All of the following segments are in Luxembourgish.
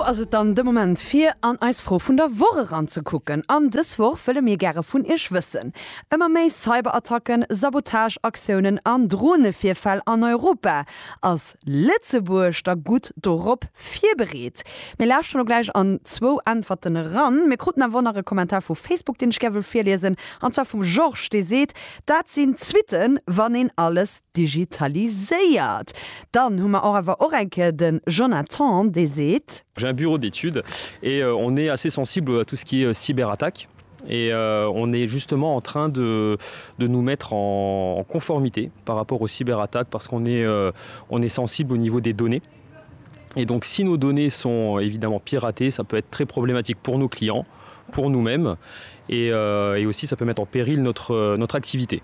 ass et dann de Moment fir an eis Fro vun der Woch eranzekucken. An dës Woch wëlle mir gäre vun iech wëssen, Ëmmer méi Cyberattacken, Sabotageaktiounen an Dronevirfäll an Europa, ass Lëtzebuerg da gutt dorop virbereet? Mir lauschteren elo gläich an zwou Äntwerten eran. Mir kruten awer och nach e Kommentar vu Facebook, deen ech gär wëll virliesen, an zwar vum Georges, dee seet, Dat sinn d'Suitten, wann een alles digitaliséiert. Dann hu mer och awer och eng Kéier de Jonathan, dee seet. J'ai un bureau d'études et on est assez sensible à tout ce qui est cyberattaque et on est justement en train de, de nous mettre en, en conformité par rapport aux cyberattaques parce qu'on est, on est sensible au niveau des données. Et donc si nos données sont évidemment piratées, ça peut être très problématique pour nos clients, pour nous-mêmes et, euh, et aussi ça peut mettre en péril notre, notre activité.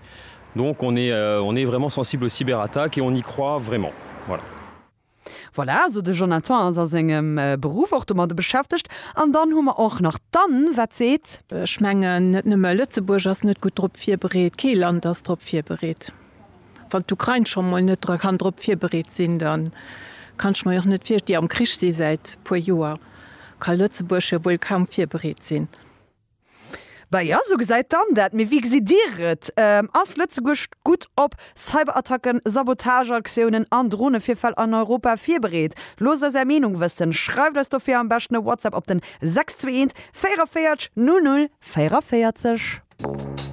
Donc on est, euh, on est vraiment sensible aux cyberattaques et on y croit vraiment. Voilà. Voilà, also de Jonathan ass a sengem Beruff och domadde beschäftegt. An dann hu mer och nach d'Anne, wat seet. Ech mengen, net nëmme Lëtzebuerg ass net gutt drop virbereet, kee Land ass drop virbereet. Wann d'Ukrain scho mol net kann drop virbereet sinn, da kann ech mer jo och net vir, déi am Krich si säit puer Joer, ka Lëtzebuerg jo wuel kaum virbereet sinn. Bah jo, sou gesäit d'Anne dat. Mee wéi gesitt Dir et? Ass Lëtzebuerg gutt op Cyberattacken, Sabotageaktiounen an Dronevirfäll an Europa virbereet? Loosst eis Är Meenung wëssen. Schreift eis dofir am beschten e WhatsApp op den 621 44 00 44.